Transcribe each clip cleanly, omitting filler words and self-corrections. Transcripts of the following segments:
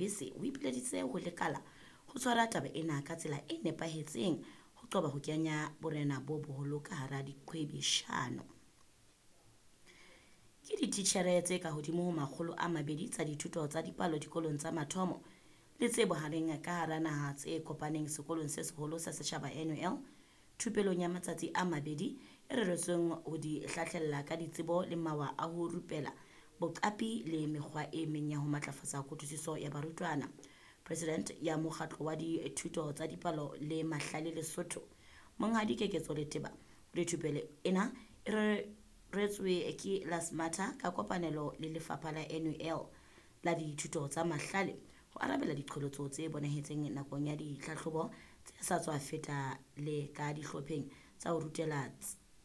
Lebese o ipileditse ho lekala ho tshwara taba ena ka tsela e nepahetseng ho qoba ho kenya borena bo boholo ka hara diqhwebeshano. Ke dititjhere tse kahodimo ho 200 tsa dithuto tsa dipalo dikolong tsa mathomo le tse bohareng ka hara naha tse kopaneng Sekolong se Seholo sa Setjhaba, NUL, thupelong ya matsatsi a mabedi e reretsweng ho di hlahlella ka ditsebo le mawa a ho rupela, boqapi le mekgwa e meng ya ho matlafatsa kutlwisiso ya barutwana. President ya Mokgatlo wa Dithuto tsa Dipalo le Mahlale Lesotho, Monghadi Keketso Leteba, o re thupelo ena e reretswe ke Lasmatha ka kopanelo le Lefapha la NUL la Dithuto tsa Mahlale ho arabela diqholotso tse bonahetseng nakong ya ditlhahlobo tse sa tswa feta le ka dihlopheng tsa ho rutela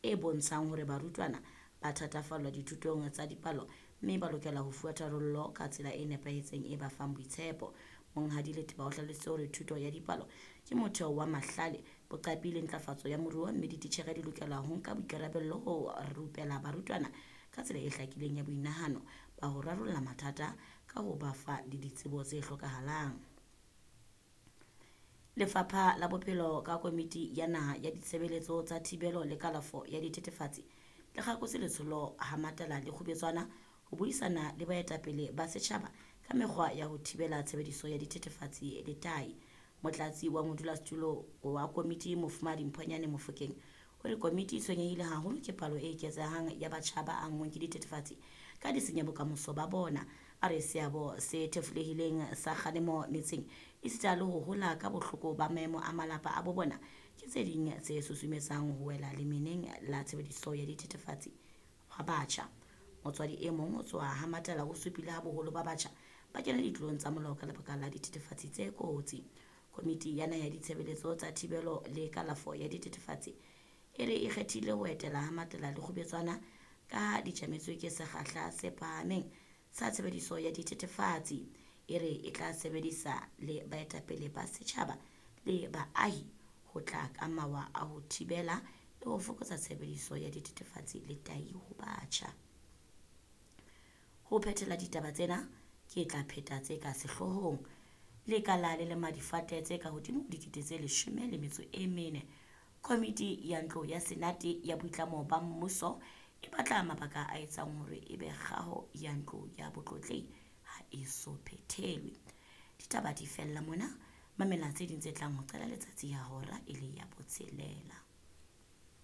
e bontshang hore barutwana ba thatafallwa dithutong tsa dipalo mme ba lokela ho fuwa tharollo ka tsela e nepahetseng e ba fang boitshepo. Monghadi Leteba o hlalositse hore thuto ya dipalo ke motheo wa mahlale, boqapi le ntlafatso ya moruo mme dititjhere di lokela ho nka boikarabello ho rupela barutwana ka tsela e hlakileng ya boinahano ba ho rarolla mathata ka ho ba fa le ditsebo tse hlokahalang. Lefapha la Bophelo ka Komiti ya Naha ya Ditshebeletso tsa Thibelo le Kalafo ya Dithethefatsi le kgakotse letsholo ha Matala le Kgubetswana ho buisana le baetapele ba setjhaba ka mekgwa ya ho thibela tshebediso ya dithethefatsi le tahi. Motlatsi wa modulasetulo wa komiti Mofumahadi Mphonyane Mofokeng o re komiti e tshwenyehile haholo ke palo e eketsehang ya batjha ba anngweng ke dithethefatsi ka di senya bokamoso ba bona. A re seabo se thefulehileng sa kgalemo metseng esita le ho hola ka bohloko ba maemo a malapa a bo bona ke tse ding tse susumetsang ho wela lemeneng la tshebediso ya dithethefatsi hwa batjha. Motswadi e mong ho tswa ha Matala o supile ha boholo ba batjha ba kena ditlolong tsa molao ka lebaka la dithethefatsi tse kotsi. Komiti ya Naha ya Ditshebeletso tsa Thibelo le Kalafo ya Dithethefatsi e re e kgethile ho etela ha Matala le Kgubetswana ka di tjametswe ke sekgahla se phahameng sa tshebediso ya dithethefatsi. E re e tla sebedisa le baetapele ba setjhaba le baahi ho tla ka mawa a ho thibela le ho fokotsa tshebediso ya dithethefatsi le tahi ho batjha. Ho phethela ditaba tsena ke tla pheta tse ka sehloohong. Lekala le lema difate tse ka hodimo ho 14 000. Komiti ya Ntlo ya Senate ya Boitlamo ba Mmuso e batla mabaka a etsang hore ebe kgaho ya ntlo ya botlotlehi ha e so phethelwe. Ditaba di fella mona. Mamela tse ding tse tlang ho qala letsatsi ya hora e le ya botshelela.